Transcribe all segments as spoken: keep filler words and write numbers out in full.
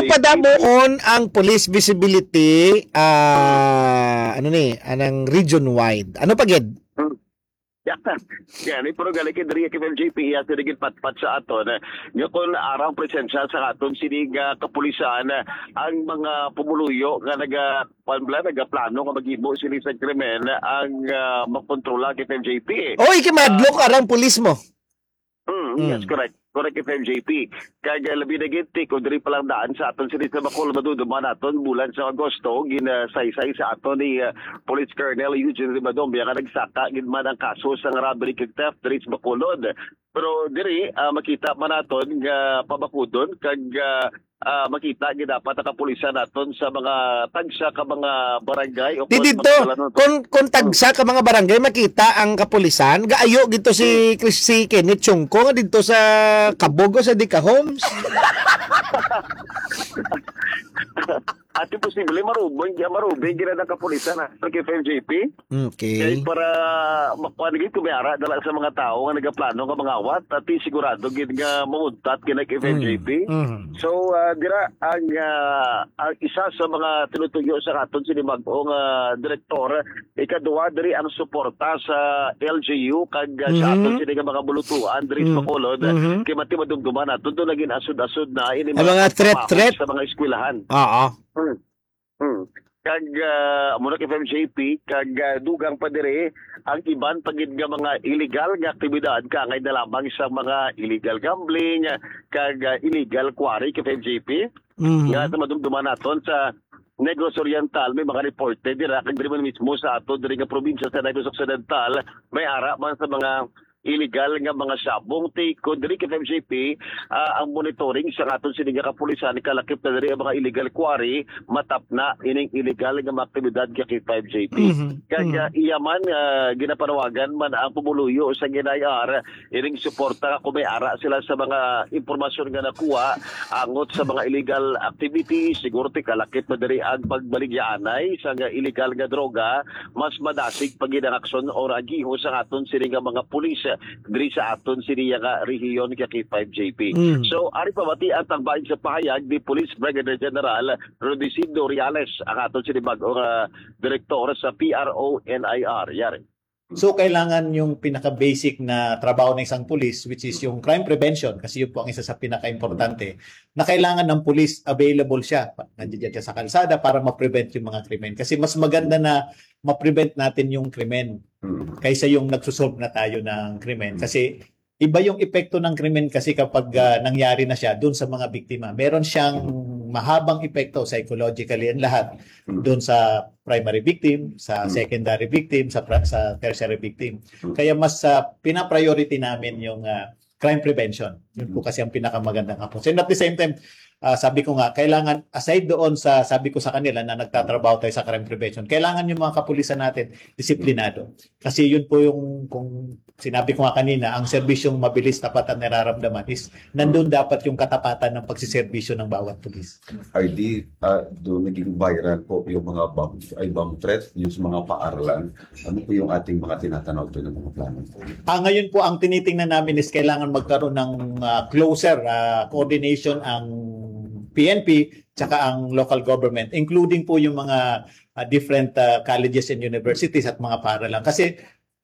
Safety. Padamuon ang police visibility, ah, ano ni, anang region wide. Ano pa gid? Hmm. Yeah. Yan, eh, pero gali kay diri kay F M J P, iya sila gid patpat sa aton, eh, nga kung arang presensya sa aton sini nga kapulisan, eh, ang mga pumuluyo nga naga-, kuwan bala, nagaplano nga maghimo sini sa krimen, ang, ah, makontrola kay F M J P, eh. Oy, kimadlok Ah. arang pulis mo. Mm, yes, Mm. correct. Correct, F M J P. Kag, ah, labi na gid, Tik, kung diri pa lang daan sa aton sini sa Bacolod, madumduman naton, bulan sa Agosto, ginasaysay sa aton ni, ah, Police Colonel Eugene Ribadong, nga nagsaka gid man ang kaso sa robbery kag theft diri sa Bacolod. Pero diri, ah, makita man naton nga pabakudon kag, ah, ah, makita gid dapat ang kapulisan naton sa mga tagsa ka mga barangay o Di kung dito, mga kung, kung tagsa ka mga barangay, makita ang kapulisan, gaayo dito si Chris, si Kenneth Chungko nga dito sa Kabog o sa Dika Homes. Ati posible, marubing, marubing gina ng kapulisan, ha, sa F M J P. Okay. Kay para makuha na gid, kung may ara dala sa mga tao nga nagaplano nga mangawat, ati sigurado gid nga mamuntat gid ang F M J P. Mm, mm. So, ah, dira ang, ah, ang isa sa mga tinutuyo sa aton sini bag-o nga direktor, ikaduha diri ang suporta sa L G U kag, ah, sa Mhm. aton sini nga mga bulutuan diri sa Mhm. Bacolod. Mhm. Kay mati madumduman nato, doon naging asod-asod na ini Ang mga mga threat, pamahaw threat. sa mga eskwelahan. Oo. Hmm. Hmm. Kag, ah, amo na kay F M J P, kag, ah, dugang pa diri ang iban pa gid nga mga illegal nga aktibidad, kaangay na lamang sa mga illegal gambling, kag, ah, illegal quarry kay F M J P. Mhm. Nga sa madumduman naton sa Negros Oriental, may mga reporte dira, kag diri man mismo sa ato diri nga probinsya sa Negros Occidental, may ara man sa mga illegal nga mga sabong. Ti, kung diri kay F M J P, ah, ang monitoring sa aton sini nga kapulisan, kalakip na diri ang mga illegal quarry, matapna ining illegal nga mga aktibidad kay F M J P. Mhm. Kag, Mhm. ah, iya man, ah, ginapanawagan man ang pumuluyo sa N I R, ining suporta kung may ara sila sa mga impormasyon nga nakuha angot sa mga illegal activities, siguro ti kalakip na diri ang pagbaligyaanay sa nga illegal nga droga, mas madasig pa gid ang aksyon o agiho sa aton sini nga mga pulis, eh, diri sa aton sini nga rehiyon kay K five J P. Mm. So, ari pamati ang tagbaig sa pahayag ni Police Brigadier General Rudecindo Reales, ang aton sini bag-o nga direktor sa P R O N I R. Yari. So, kailangan yung pinaka-basic na trabaho ng isang pulis, which is yung crime prevention, kasi yun po ang isa sa pinaka-importante, na kailangan ng pulis available siya. Nandiyan siya sa kalsada para ma-prevent yung mga krimen. Kasi mas maganda na ma-prevent natin yung krimen Mm. kaysa yung nagsusolve na tayo ng krimen. Mm. Kasi iba yung epekto ng krimen kasi kapag, ah, nangyari na siya dun sa mga biktima. Meron siyang mahabang epekto psychologically and lahat Mm. dun sa primary victim, sa Mm. secondary victim, sa pra-, sa tertiary victim. Mm. Kaya mas, ah, pina-priority namin yung, ah, crime prevention. Yun po Mm. kasi ang pinakamagandang approach. And at the same time, ah, sabi ko nga, kailangan, aside doon sa, sabi ko sa kanila na nagtatrabaho tayo sa crime prevention, kailangan yung mga kapulisan natin, disiplinado. Kasi yun po yung, kung sinabi ko nga kanina, ang serbisyong mabilis, tapat at nararamdaman is nandun dapat yung katapatan ng pagsiservisyo ng bawat pulis. R D, ah, doon naging viral po yung mga bomb, ay, bomb threat, yung sa mga paaralan. Ano po yung ating mga tinatanaw doon ng mga plano? Ah, ngayon po, ang tinitingnan namin is kailangan magkaroon ng, ah, closer, ah, coordination ang P N P tsaka ang local government, including po yung mga, ah, different, ah, colleges and universities at mga paaralan. Kasi,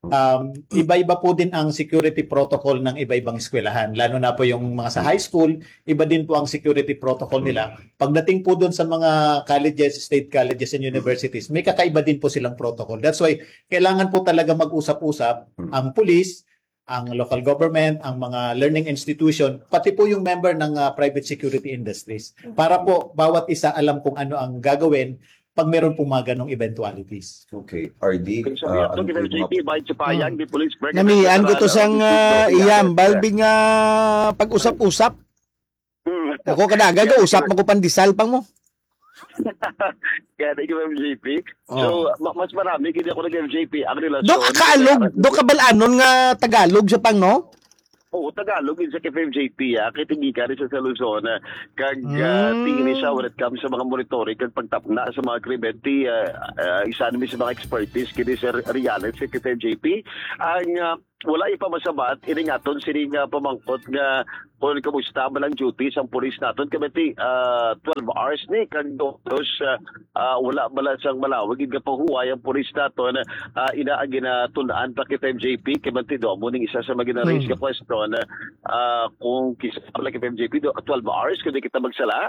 um, iba-iba po din ang security protocol ng iba-ibang eskwelahan, lalo na po yung mga sa high school, iba din po ang security protocol nila. Pagdating po doon sa mga colleges, state colleges and universities, may kakaiba din po silang protocol. That's why kailangan po talaga mag-usap-usap ang police, ang local government, ang mga learning institution, pati po yung member ng, ah, private security industries. Para po bawat isa alam kung ano ang gagawin pag meron pong mga ganong eventualities. Okay, R D, Kung sabi ah, ato, ano po yung K F J P, mga bahin sa payag, Hmm. di Police Brigadier Namian ko to General sang, Rudecindo ah, Reales. iyam, Balbing, ah, pag-usap-usap. Hmm. Ako, kada aga, Yes, usap correct. mo ko pandesal pang mo. Kaya na yung M J P. Oh. So, ma-, mas marami, hindi ako nag-M J P. Ang relasyon, Do ka kaalog, may do ka bal-anon nga Tagalog sa pang, no? Oo, Tagalog, isa ka F M J P, ah. Kay tinggi ka rin sa, sa Luzon, ah. Kag, ah, Mm. tingin siya when it comes sa mga monitoring, kag pagtapna sa mga krimen, ti, ah, ah, isa naman sa mga expertise, kini Sir Reales, sa F M J P. Ang, ah, Wala ipamasabat ining aton sining, ah, pamangkot nga kung kamusta ba lang duty sang pulis naton, kay bati, ah, twelve hours ni kag dos, ah, ah, wala bala sang malawig nga pahuway ang pulis naton, ah, ina ang ginatun-an pa kay F M J P, kay bati do mo ning isa sa mga gina-raise Hmm. nga question, ah, kung kisa bala kay F M J P do twelve hours kung di kita magsala.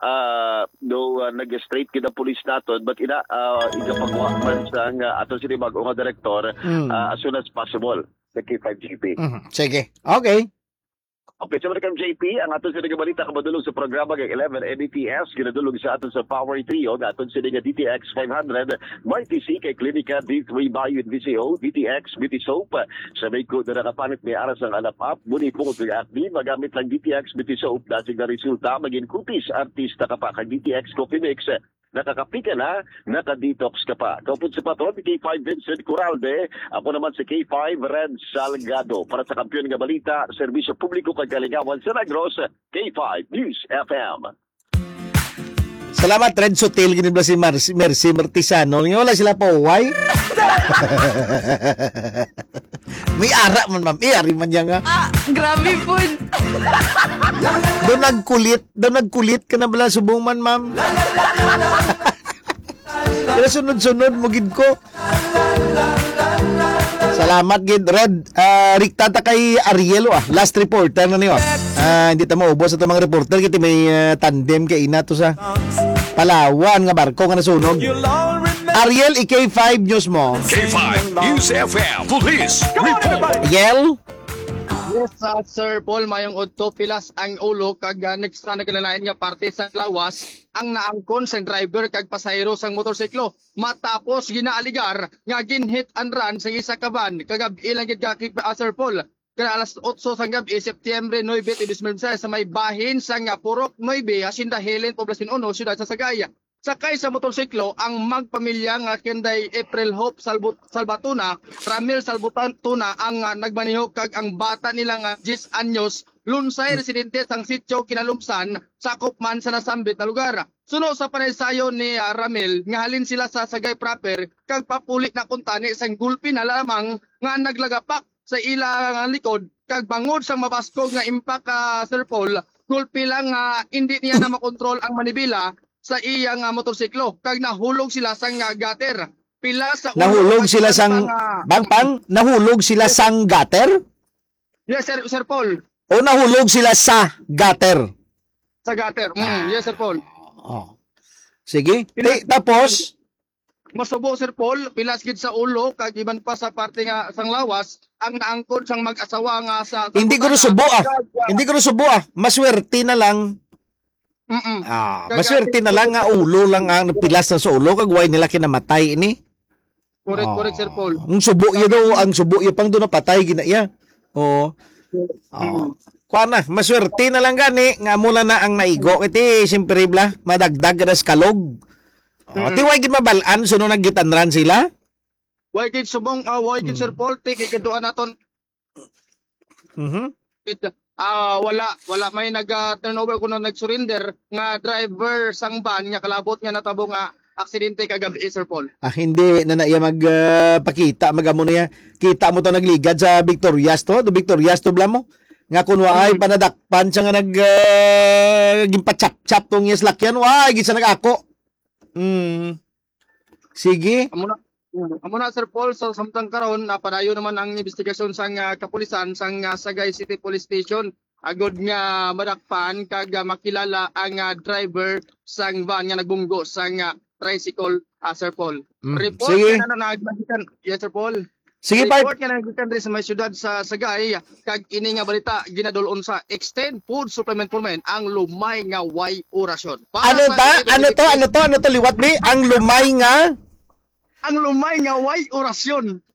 Ah, no, ah, nag-straight kita pulis naton, but ina, ah, igapagwa man sang, ah, aton sini bag-o nga direktor, Mm. ah, as soon as possible sa K five G P. Mhm. Sige. Okay. Okay, sa mga K five G P, ang aton sini nga balita kamadulog sa programa kag eleven N D T S, ginadulog sa aton sa Power Trio, nga aton sini nga D T X five hundred, Mighty C kay Klinika, D three Bio and V C O, D T X Beauty Soap, sa may ko na nakapanit may aras ang alap-ap, muni po kung acne, magamit lang D T X Beauty Soap, dasig na resulta, maging kutis, artista ka pa, kag D T X Coffee Mix, nakakapi ka na, naka-detox ka pa. Kaupod sa patron, K five Vincent Coralde, ako naman si K five Red Salgado. Para sa Kampiyon nga Balita, Serbisyo Publiko kag Kalingawan sa Negros, K five News F M. Salamat, Red Sutil, gini ba si Mar-, si Mercy Martisano? Nga wala sila pauway? May ara man, ma'am. Eh, ari man niya nga. Ah, grabe po. Daw nagkulit, daw nagkulit ka na bala subong man, ma'am. Pero sunod-sunod mo gid ko. Salamat gid, Red. Ah, rikta ta kay Ariel, ah. Last reporter na niyo. Ah, hindi ta maubos ato mga reporter, kay may, ah, tandem kay ina to sa Palawan nga barko nga nasunog. Ariel, i-K five news mo. K five News F M Police Report. Ariel? Yes, ah, Sir Paul, mayong udto, pilas ang ulo kag, ah, next na nagkalain nga parte sa lawas ang naangkon sang driver kag pasahero sang motorsiklo matapos ginaaligar nga gin-hit and run sa isa ka van kagab-i lang gid ka, ah, Sir Paul. Kada alas otso sang gab-i, Setyembre nuebe, dos mil seis, sa may bahin sang, ah, Purok nuebe, Hacienda Helen, Poblacion uno, Siyudad sa Sagay. Sakay sa motorsiklo ang magpamilya nga kinday April Hope Salbut-, Salvatuna, Ramil Salvatuna ang, ah, nagmaneho kag ang bata nila nga diyes anyos, lunsay residente sang sitio Kinalumsan, sakop man sa nasambit na lugar. Suno sa panaysayon ni, ah, Ramil, nga halin sila sa Sagay proper kag papuli na kuntani sang gulpi na lamang nga naglagapak sa ila nga likod, kag bangod sang mabaskog nga impact, ah, Sir Paul, gulpi lang nga hindi niya na makontrol ang manibela sa iya nga motorsiklo, kag nahulog sila sang, ah, gutter. Pila sa ulo Nahulog ang sila sang, pang, ah, bang, pang, nahulog sila sang gutter? Yes, Sir, Sir Paul. O nahulog sila sa gutter? Sa gutter. Mm, yes, Sir Paul. Oh. Sige. Pila Ti-, tapos? Masubo, Sir Paul, pilas gid sa ulo, kag iban pa sa parte nga sang lawas, ang naangkon sang mag-asawa nga sa Hindi ko subo, ah. Hindi ko subo, ah. Maswerte na lang. Mm-mm. Ah, Kag maswerte na lang nga ulo lang ang pilas na sa ulo, kag way nila kinamatay ini. Correct, Oh. correct, Sir Paul. Ang subo iya daw, ang subo iya pang doon napatay gina iya. Oo. Oo. Mm. Kuha na, maswerte na lang gani nga mula na ang naigo. Iti, siyempre, bla, madagdag ka na sa kalog. Oh, Mm. ti way gid mabalaan, suno naggitanran sila? Way gid subong, ah, way gid, Sir Mm. Paul, ti, kay kaduan naton. Mhm. It, ah, wala, wala may nag, ah, turnover kuno nag-surrender nga driver sang van nga kalabot nga natabo nga aksidente kagabi, Sir Paul. Ah, hindi na na iya mag, ah, pakita, mag-amo na iya. Kita mo to nagligad sa Victorias to, do Victorias to, bla mo? Nga kun waay Mm. panadakpan siya nga nag, ah, ginpachap-chap tong iya salakyan, waay, gid siya nag-ako. Mm. Sige. Amo na, mm, amo na, Sir Paul, sa samtang karon, napadayon naman ang investigasyon sang, ah, kapulisan sang, ah, Sagay City Police Station agod nga madakpan kag, ah, makilala ang, ah, driver sang van nga nagbunggo sang, ah, tricycle, ah, Sir Paul. Mm, Report sige. nga na, na, yes, Sir Paul. Sige, Report part. nga naggikan diri sa may siyudad sa Sagay, kag ini nga balita ginadul-on sa Extend Food Supplement for Men, ang lumay nga way orasyon. Para Ano sa ta? Ano to? Ano to? Ano to? Liwat, bi? Ang lumay nga? Ang lumay nga way orasyon.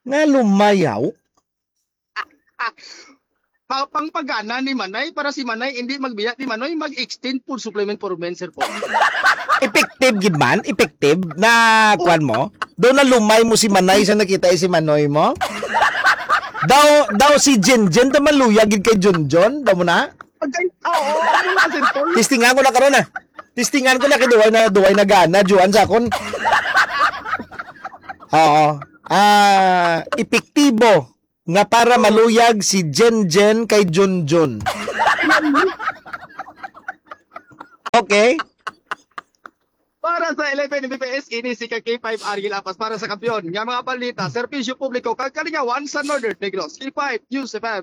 Nga lumayaw? Pa-, pangpagana ni Manay, para si Manay hindi magbiya ni Manoy, mag-Extend Food Supplement for Men, Sir Paul. Effective gid man? Effective na kuan mo? Daw na lumay mo si Manay sa nakita si Manoy mo? Daw, daw si Jinjin, daw maluya gid kay Junjun, daw mo na? Agay, oo, ano na, Sir Paul? Testingan ko na karon, ah. Testingan ko na kay duway na, duway na gana, Juan, sa akon. Oo. Ah, epektibo. nga para maluyag si Jen Jen kay Jun Jun. Okay? Para sa eleven M B P S, ini si ka K five Ariel Apas para sa Kampiyon nga mga balita, serbisyo publiko, kag kalingawan sa Northern Negros. K five News F M.